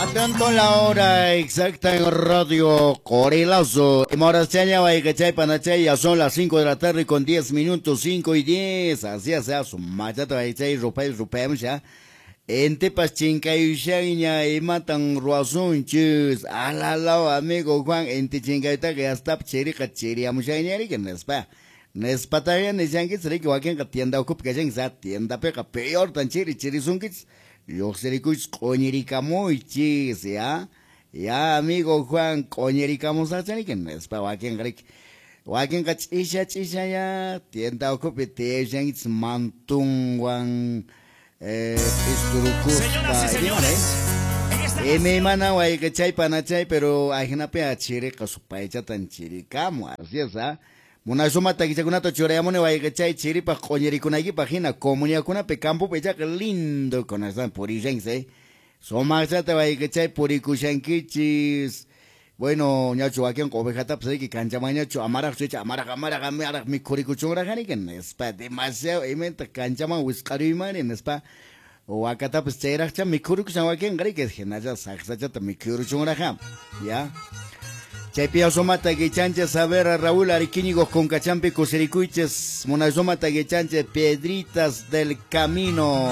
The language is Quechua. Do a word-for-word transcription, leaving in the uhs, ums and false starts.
Atento la hora exacta en Radio Corilazo. Imhorachaña wayqichay panachay, ya son las cinco de la tarde con diez minutos, cinco y diez. Así es, su machata wayqichay, rupay, rupayamsha. Intipas chinkayushaña imatan ruwasunchis. Alalao, amigo Juan, inti chinkaytaqa yastap chiriqa chiriyamushaña riki nispa. Nispataqa nishankichis riki wakinqa tienda ukhupi kashanchis, ah, tiendapiqa peortan chiri chirisunkichis. Lluqsirikuychis q'uñirikamuychis, ya. Ya, amigo Juan, q'uñirikamusaqcha riki nispa wakinqa riki. Wakinqa ch'isha ch'isha ya tienda ukhupi tiyashankichis mantunwan eh, Señoras y p'isturukuspa señores, en esta imaymana wayqichay panachay, pero ajinapi chiriqa supaychatan chirikamu, así es, ah. Munasuma takichakunata churayamuni wayqichay chiripaq q'uñirikunaykipaq hina comunidadkunapi campopi ichaqa lindo kunastan purishanchis, eh. Sumaqchata wayqichay purikushankichis. Bueno, ñachu wakinqa ovejatapas riki kanchamanñachu amaraqchu icha amaraq amaraq amaraq mikhurikuchunraq riki nispa demasiado imayta kanchaman wisq'aruymani nispa wakatapas chayraqcha mikhurikushan wakinqa riki hinalla saqsachata mikhuruchunraq ya. Chaypi sumata guichanches a ver a Raúl Ariquíñigo con Cachampi kusirikuychis munasumata guichanches Piedritas del Camino.